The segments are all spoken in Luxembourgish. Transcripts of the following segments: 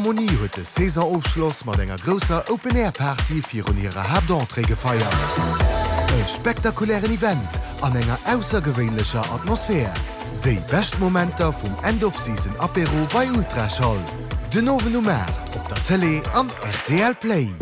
D'Harmonie huet de Saisonofschloss mat enger grousser Open Air Party virun hirer Haaptentrée gefeiert. E spektakulären Event an enger aussergewéinlecher Atmosphär. Déi bescht Momenter vum End of Season Apéro bei Ultraschall. Den Owend um 8 op der Tëlee an rtl Play.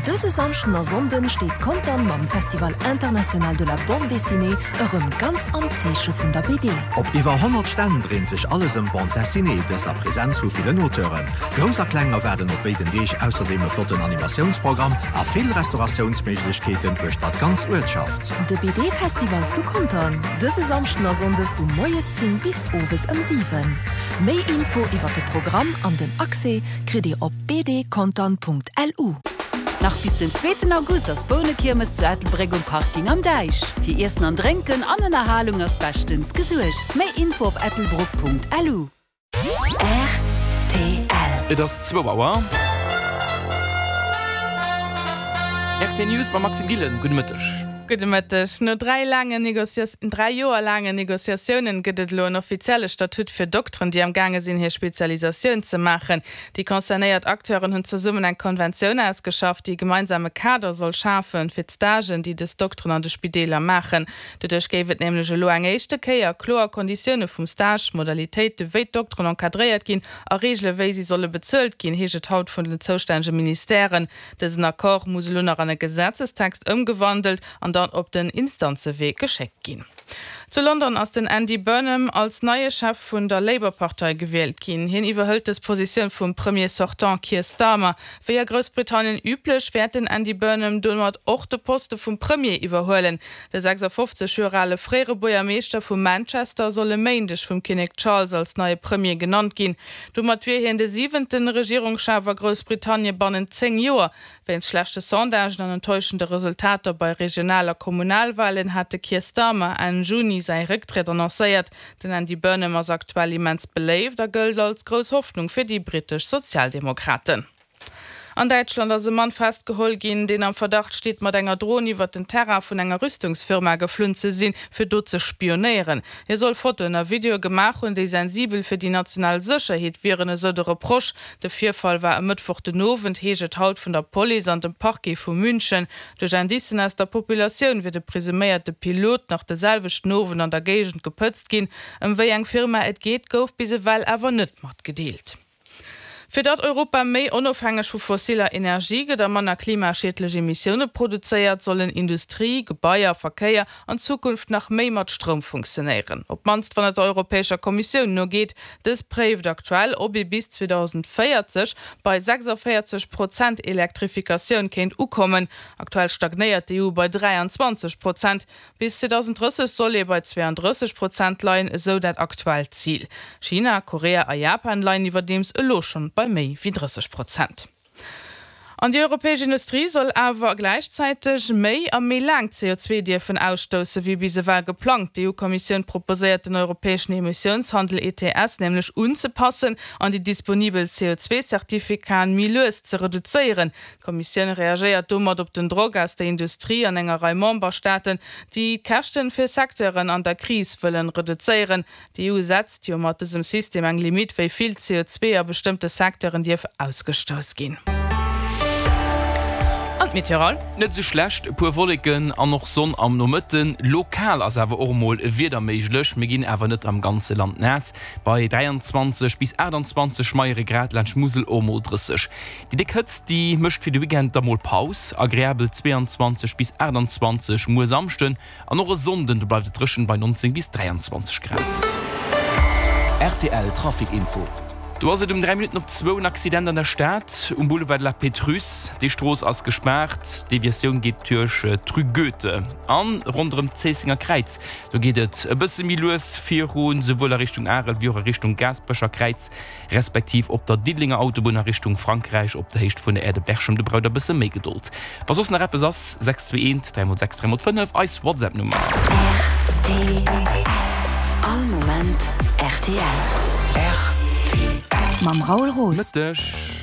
Dëse Samschden a Sonnden steet Contern mam Festival International de la Bande Dessinée erëm ganz am Zeeche vun der BD. Op iwwer 100 Stänn dréint sech alles ëm d'Bande Dessinée, dëst a Presenz vu villen Auteuren. Grouss a Kleng erwaarden op béiden Deeg ausserdeem e flotten Animatiounsprogramm a vill Restauratiounsméiglechkeeten uechter d'ganz Uertschaft. De BD-Festival zu Contern, dëse Samschden a Sonnde vu moies 10 bis owes ëm 7. Méi Info iwwer de Programm an den Accès kritt Dir op bdcontern.lu. Nach bis den zweeten August ass d'Bounekiermes zu Ettelbréck um Parking am Däich. Fir Iessen an Drénken an Ënnerhalung ass beschtens gesuergt. Méi Info op ettelbruck.lu. Rtl. Et ass zwou Auer. RT News mam Maxime Gillen. Gudde Mëtteg. Gudde Mëtteg. No dräi laangen dräi Joer laangen Negociatiounen gëtt et elo en offizielle Statut fir Dokteren, déi am gaange sinn, hir Spezialisatioun ze maachen. Déi concernéiert Acteuren hunn zesummen eng Konventioun ausgeschafft, déi e gemeinsame Kader soll schafen, fir d'Stagen, déi dës Dokteren an de Spideeler maachen. Doduerch géif et nämlech elo eng éischte Kéier kloer Konditioune vum Stage, Modalitéite wéi d'Dokteren encadréiert ginn a Reegele wéi si solle bezuelt ginn, heescht et haut vun den zoustännege Ministèren. Dësen Accord muss elo nach an e Gesetzestext ëmgewandelt an dann op den Instanzewee geschéckt ginn. Zu London ass den Andy Burnham als neie Chef vun der Labour-Partei gewielt ginn. Hien iwwerhëlt dës Positioun vum Premier sortant Keir Starmer. Wéi a Groussbritannien üblech, wäert den Andy Burnham domat och de Poste vum Premier iwwerhuelen. De 56 Joer ale fréiere Buergermeeschter vu Manchester soll e Méindeg vum Kinnek Charles als neie Premier genannt ginn. Domat wier hien de siwente Regierungschef a Groussbritannien bannent 10 Joer. Wéinst schlechte Sondagen an enttäuschende Resultater bei Regional a Kommunalwalen hat de Keir Starmer Enn Juni säi Récktritt annoncéiert. Den Andy Burnham ass aktuell immens beléift a gëllt als grouss Hoffnung fir déi brittesch Sozialdemokraten. An Däitschland ass e Mann festgeholl ginn, deen am Verdacht steet, mat enger Dron iwwert den Terrain vun enger Rüstungsfirma geflunn ze sinn, fir do ze spionéieren. Hie soll Fotoen a Videoe gemaach hunn, déi sensibel fir déi national Sécherheet wieren, esou de Reproche. De Virfall war e Mëttwoch den Owend, heescht et haut vun der Police an dem Parquet vu München. Duerch Indicen aus der Populatioun wier de presuméierte Pilot nach de selwechten Owend an der Géigend gepëtzt ginn. Ëm wéi eng Firma et geet, gouf bis ewell awer net matgedeelt. Fir datt Europa méi onofhängeg vu fossiller Energie gëtt a manner klimaschiedlech Emissioune produzéiert, sollen Industrie, Gebaier, Verkéier an Zukunft nach méi mat Stroum funktionéieren. Op d'mannst wann et der Europäescher Kommissioun no geet. Dës préift aktuell, ob ee bis 2040 bei 46 Prozent Elektrifikatioun kéint ukommen. Aktuell stagnéiert d'EU bei 23 Prozent. Bis 2030 soll ee bei 32 Prozent leien, esou dat aktuellt Zil. China, Korea a Japan leien iwwerdeems elo schonn bei méi wéi 30 Prozent. An déi europäesch Industrie soll awer gläichzäiteg méi a méi laang CO2 dierfen ausstousse wéi bis ewell geplangt. D'EU-Kommissioun proposéiert den europäeschen Emissiounshandel, ETS, nämlech unzepassen an déi disponibel CO2-Certificaten méi lues ze reduzéieren. D'Kommissioun reagéiert domat op den Drock aus der Industrie an enger Rei Memberstaaten, déi d'Käschten fir Secteuren an der Kris wëllen reduzéieren. D'EU setzt jo mat dësem System eng Limitt, wéi vill CO2 a bestëmmte Secteuren dierf ausgestouss ginn. An d'Meteorol? Net esou schlecht, e puer Wolleken an och Sonn am Nomëtten. Lokal ass awer och emol e Wieder méiglech, mir ginn awer net am ganze Land naass. Bei 23 bis 28 schmeiere Grad laanscht Musel och mol 30. Déi déck Hëtzt, déi mécht fir de Weekend da mol Paus. Agreabel 22 bis 28 muer Samschden an och e Sonnden, do bleift et dréchen bei 19 bis 23 Grad. Rtl Trafic Info. Do ass et um 3 Minutten op zwou en Accident an der Stad um Boulevard de la Pétrusse. Déi Strooss ass gespaart, d'Deviatioun geet duerch d'Rue Goethe an ronderëm d'Zéissenger Kräiz. Do geet et e bësse méi lues virun, souwuel a Richtung Arel wéi och a Richtung Gaasperecher Kräiz. Respektiv op der Diddelenger Autobunn a Richtung Frankräich op der Héicht vun der Aire de Berchem. Do braucht der bësse méi Gedold. Wa soss nach eppes ass, 621 3 x 6 3 x 5, eis WhatsApp Nummer. Rtl. All Moment rtl. Rtl. Mam Raoul Roos. Mëtteg.